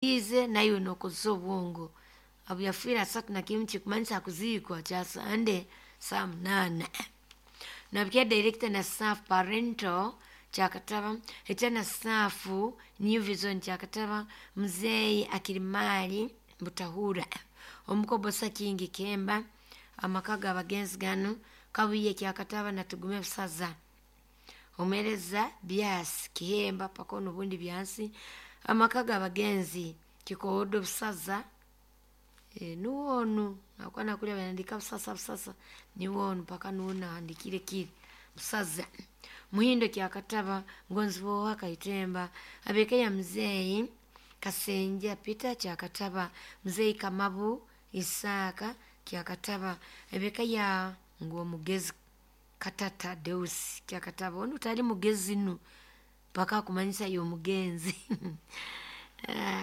Ize naiwe nokozesa obwongo abu yafiire 31 kikumanyisa kuziikwa kya Sande saa 8. Nabikia director na staff parental Kyakataba ekya na staff New Vision Kyakataba Muzeeyi Akirimali Butahura Omukobosa Kingi Kemba amaka g'abagenzi ganu Kabuye Kyakataba na Tugume Busaza Omuheereza Byasi Kihemba paka onubundi Byansi amaka g'abagenzi Kikoodo Busaza nuwe onu nakuba nakurya banandika Busasa Busasa niwe onu paka nuwe nahandikire kiri Busaza Muhindo Kyakataba Ngonziboha Kaitemba ab'eka ya Muzeeyi Kasenja Peter Kyakataba Muzeeyi Kamabu Isaaka Kyakataba ab'eka ya Ngwomugezi Katata Deus Kyakataba onu tali mugezi nu paka akumanyisa y'omugenzi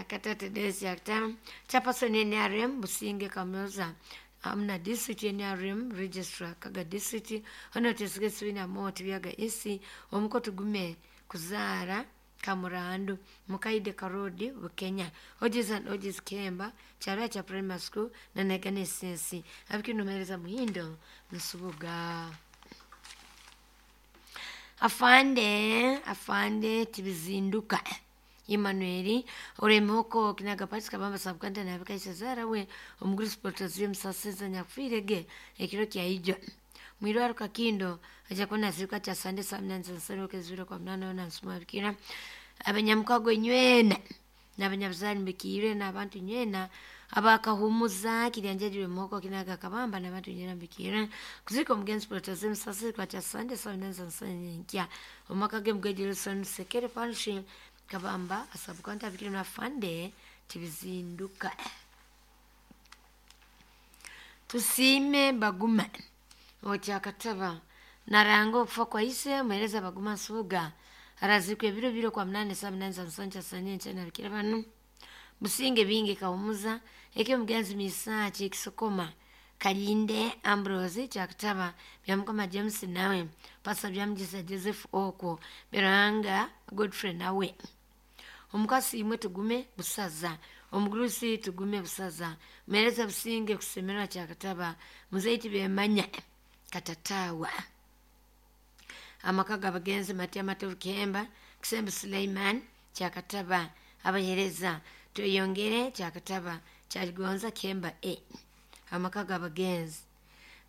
Katata Deus Kyakataba Chairperson NRM Businge Kamuza hamuna district NRM registrar Kaga district hano tesige Sibina Moti Byaga East omuko Tugume kuzaara Kamurandu Mukaide Karodi Bukenya Ojiz and Ojiz Kemba Kyarwa kya Primary School na Negane Sensi abikinomereza Muhindo Nsubuga Afande Afande Tibizinduka Emmanuel oremoko kinaga pati kabamba sabukanta nabikaisa zara we omuguru protasiyo musaseza nyakufiirege ekiro kya ijo mwirwaro kakindo aja kuona zirika cha sande saa mnane zansaroke kwa mnane ona nsuma bikira abanyamukago nywena n'abanyabuzani mbikiire n'abantu nywena abakahumuza kiryanjajire moko kinaga kabamba n'abantu nywena mbikiire kuzika omugenzi protasiyo musaseza kwa cha sande saa mnane zansaroke omaka ge mugejero sekere parish kabamba asabukanta abikire na fande tibizinduka tusiime baguma okyakataba naranga okufa kwa ise muhereza baguma nsubuga arazikwa ebiro biro kwa mnane saa mnane za nsoncha sanye nchana bikira banu businge bingi kahumuza eke mugenzi misachi ekisokoma kalinde ambrose kyakataba byamukama james nawe pasa byamugisa joseph okwo biranga godfrey nawe omukasi imwe tugume busaza omugurusi tugume busaza muhereza businge kusemerwa kyakataba muzeiti bemanya katatawa amaka g'abagenzi matya matovu kemba kisembe suleiman kyakataba abahereza tweyongere kyakataba kyaligonza kemba e amaka g'abagenzi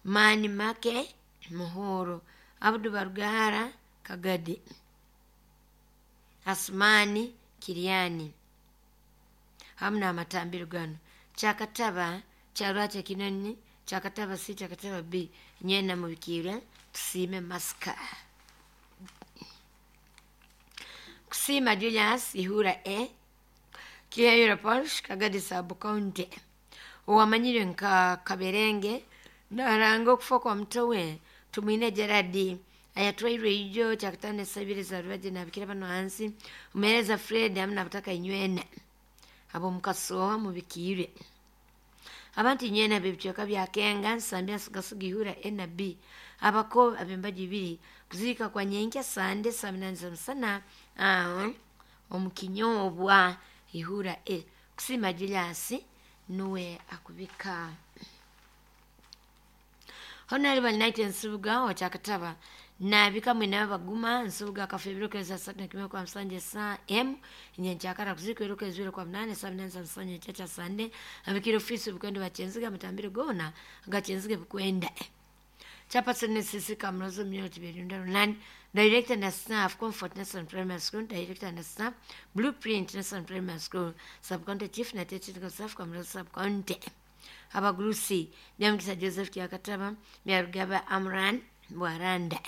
mani make muhoro abudu barugara kagadi asumani kiryani hamu n'amatambiro gano kyakataba kyarwakya kinoni kyakataba c kyakataba b nyena mubikiire tusiime masika kusiima julius ihura e kiyayura parish kagadi sub county owamanyire nka kaberenge naranga okufa kwa mutowe tumwine gerard ayatwairwe ijo kyakutano esabire za rubaje nabikira bano hansi omuhereza fred hamu nabutaka inywena ab'omukasoha mubikiire abantu inywena b'ebicweka bya kenga nsambya nsigasiga ihura a na b abako ab'embaga ibiri kuziika kwa nyenkya sande saa munani za musana omu kinyoobwa ihura e kusiima julius nuwe akubika Honorable Knight Nsubuga wa Kyakataba nabika mwena baguma Nsubuga akafa ebiro keza satu na kimwe kwa msanje saa m nyenkyakara kuzika ebiro keza biro kwa mnane saa mnane za msanje chacha sande abikira ofisi bukwenda bakyenziga amatambiro gona agakyenziga bukwenda Chairperson NCC Kamrozo Mnyoro Tiberiunda Runani, Director na staff Comfort National Primary School, Director na staff Blueprint National Primary School, Sub-County Chief na Technical Staff Kamrozo Sub-County. Abagurusi Byamukisa Joseph Kyakataba, Byarugaba Amran Bwaranda.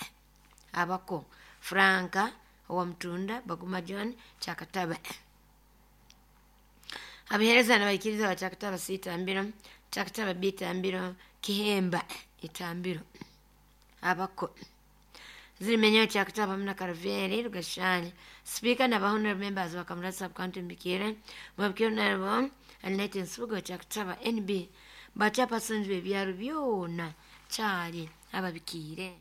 Abako Franka Owamtunda Baguma John Kyakataba. Abahereza n'abaikiriza ba Kyakataba C Itambiro, Kyakataba B Itambiro, Kihemba Itambiro. Abako zirimenyeyo kyakataba hamwe na karaveri rugashani speaker na honorable members wa Kamurasa sub county mbikire mwabikire nabo Annette Nsubuga kyakataba NB bachairpersons b'ebyaro byona kyali ababikiire.